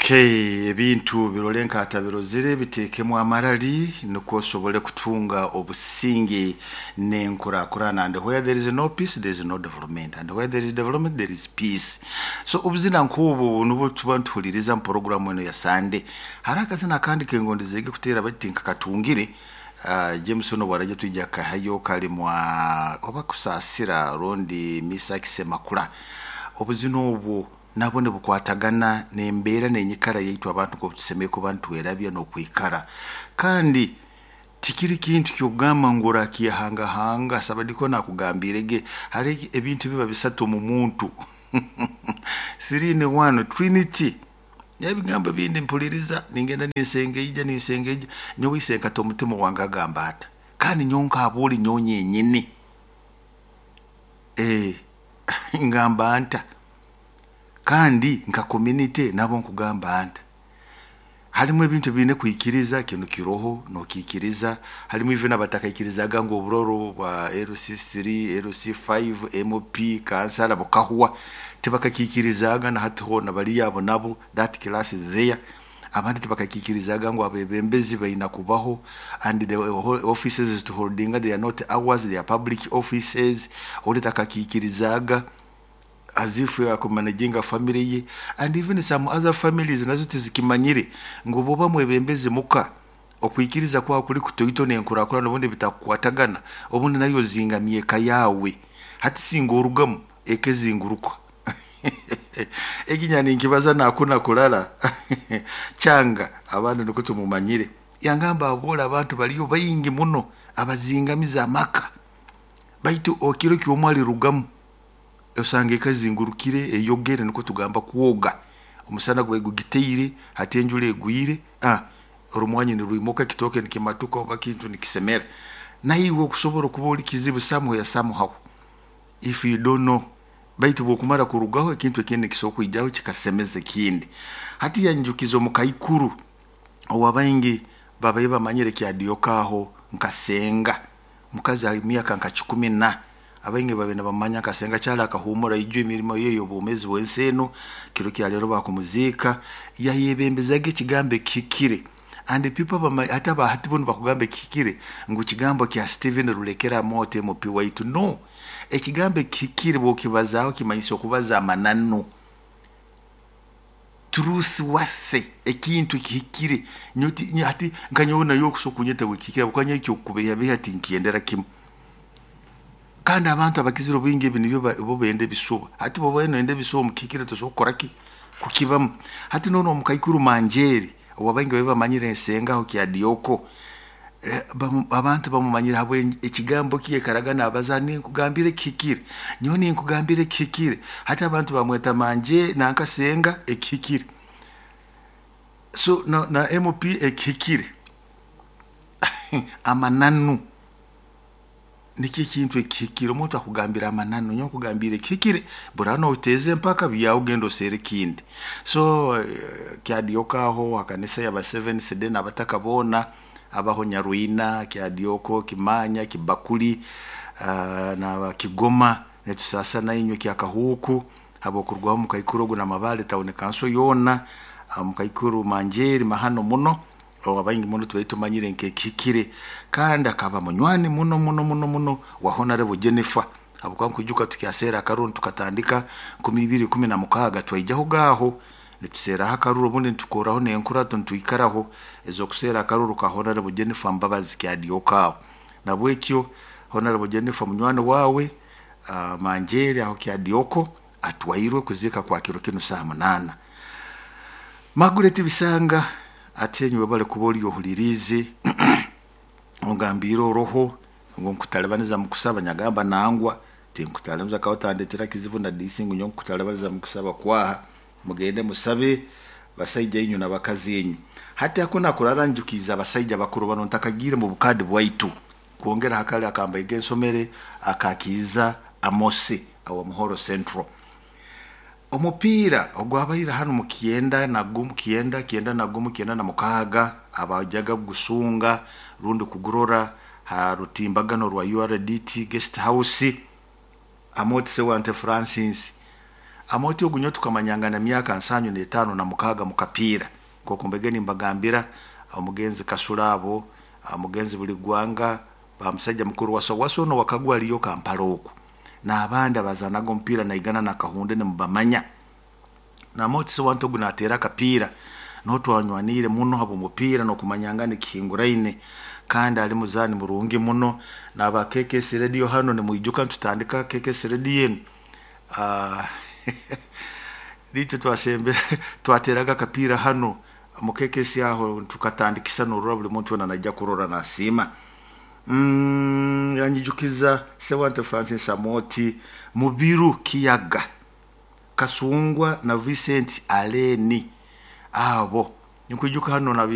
Okay, ebintu birole nkatabirozire biteekemu amarali nukwo osobole kutunga obusinge n'enkurakurana. And where there is no peace, there is no development, and where there is development, there is peace. So obuzina nk'obwo nubwo tuba nituhuliriza mu poroguramu eno ya Sande. Hariho akazina akandi kengondezege kuteera bati nkakatungire. James ono bwaraija twija kahayo kalimwa oba Kusaasira rundi Misaki Semakula. Obuzina obwo nabwo nibukwatagana n'embeera n'enyikara yaitu abantu nk'oku tusemeriire kuba nitwerabya n'okwikara. Kandi tikiri kintu ky'okugamba ngu orakyehangahanga. Sabadiko nakugambiirege hariho ebintu biba bisatu omu muntu, three in one trinity. Ebigambo bindi mpuliriza ningenda ninsengeija ninsengeija, nyowe isenkata omutima wange agamba ata, kandi nyowe nk'abooli nyowe nyenyini, ngamba nta, kandi nka community nabo nkugamba nta. Harimu ebintu ebiine kwikiriza, kinu kiroho nokiikiriza. Harimu even abatakaikirizaga ngu oburoro bwa LC3, LC5, MP, kansala bukahwa, tibakakiikirizaga na hati hoona baliyo abo nabo, that class is there. Abandi tibakakiikirizaga ngu abebembezi baina kubaho, and the offices tuholdinga, they are not ours, they are public offices. Ori takakiikirizaga as if akumanaginga family ye, and even some other families nazo tizikimanyire ngu bwoba mwebembezi muka, okwikiriza kwawe kuri kutoito n'enkurakurana obundi bitakukwatagana, obundi nayo ozingamya eka yawe. Hati singa orugamu eka ezinguruka. Eki ninkibaza nakuna kurara kyanga abandi nukwo tumumanyire. Yangamba aboole abantu baliyo baingi muno abazingamiza amaka, baitu okiro kyomwe alirugamu osanga eka ezingurukire eyogere, nukwo tugamba kwoga. Omusana gubaire gugiteire, hati enjura egwire, orumwanyi nirwimuka, ekitooke nikimatuka oba kintu nikisemera. Naiwe okusobora okuba ori kizibu somewhere somehow if you don't know. Baitu bwokumara kurugaho ekintu ekindi nikisobora kwijaho kikasemeza ekindi. Hati yanjukiza omukaikuru owabaingi babaire bamanyire kyadioka aho nka senga, mukazi ali myaka nka 10 na abaingi babaire nibamanya nka senga kyali akahumura ijo emirimo ye y'obwomezi bw'ensi eno. Kiro kya leero bakumuziika, yayebembezaga ekigambo ekihikire. And people hati abahati bo nibakugamba ekihikire ngu kigambo kya Stephen Rulekera Amooti MP waitu. No, ekigambo ekihikire bwokibazaaho kimanyisa okubaza amananu, truth worth, ekintu kihikire. Hati nka nyowe nayo okusobola kunyeta ngu ekihikire habwokuba nyowe ekyokukubeehabeeha tinkyendera kimu. Kandi abantu abakizire obwingi ebi nibyo bo benda ebisuba. Hati bwoba noyenda ebisuba omu kihikire tosobora kukora ki? Kukibamu. Hati nono omukaikuru Manjeeri owabaingi babaire bamanyire ensenga aho Kyadioko, abantu bamumanyire habwe ekigambo ki yaikaraga nabaza, ninkugambira ekihikire, nyowe ninkugambira ekihikire. Hati abantu bamweta Manje nanka senga ekihikire. So na MP ekihikire. Amananu nikyo ekintu ekihikire. Omuntu akugambira amananu, nyowe nkugambira ekihikire, buraba noteeza empaka byawe ogenda oseere ekindi. So Kyadioka aho hakanisa yaba Seventh Day n'abataka boona abaho Nyarwina, Kyadioko, Kimanya, Kibakuli, na Kigoma, nitusaasa nainywe Kyakahuuku habw'okurugaho omukaikuru ogu n'amabaale town council yoona, omukaikuru Manjeeri mahano muno, owabaingi muno tubaire tumanyire nk'ekihikire, kandi akaba munywani muno muno muno muno wa Honorable Jennifer. Habwokuba nkwijuka tukyaseera akaruru tukatandika 2016 twaijaho gaaho nituseeraho akaruru, obundi nitukoraho n'enkurato nitwikaraho ez'okuseera akaruru ka Honorable Jennifer Mbabazi Kyadioka aho. Nabwekyo Honorable Jennifer munywani wawe, Manjeeri aho Kyadioko atwairwe kuziika kwa kiro kinu saaha 8. Margaret Bisanga ati enyiwe bale kuba ori ohuliriize, ongambiire oroho ngu nkutalibaniza mukusaba, nyagamba nangwa tinkutalibaniza kawe otandetera kizibu na disi ngu nyowe nkutalibaniza mukusaba kwaha, mugende musabe basaija inywe n'abakazi inywe. Hati ako nakurara njukiiza abasaija bakuru bano ntakagiire mu bukadi bwaitu kwongera hakali akambaiga ensomere akakiiza Amosi awa Muhoro Central. Omupiira ogwabaire hanu mu kyenda na gumu, kyenda, kyenda na gumu, kyenda na mukaaga, abajaga kugusunga rundi kugurora ha rutimbagano rwa URDT Guest House, Amooti Sewante Francis. Amoti ogu nyowe tukamanyangana myaka 75 na 6 mu kapiira, nk'oku mbege nimbagambira omugenzi Kasura abo, omugenzi Buligwanga, bamusajja mukuru Waso Waso ono wakagwa aliyo Kampala oku, n'abandi abazaanaga omupiira naigana na Kahunde nimubamanya. Namoti Sewante ogu nateera akapiira, nuho twanywaniire muno habw'omupiira n'okumanyangana ekihinguraine, kandi ali muzaani murungi muno. N'aba KKS Radio hanu nimwijuka nitutandika KKS Radio enu, niitwe twasembere twateraga akapiira hanu mu KKS aho tukatandikisa norora buli muntu weena naija kurora nasiima. Yanyijukiza Sewante Francis Amoti, Mubiru Kiyaga, Kasungwa na Vincent Aleni, abo ninkwijuka hanu na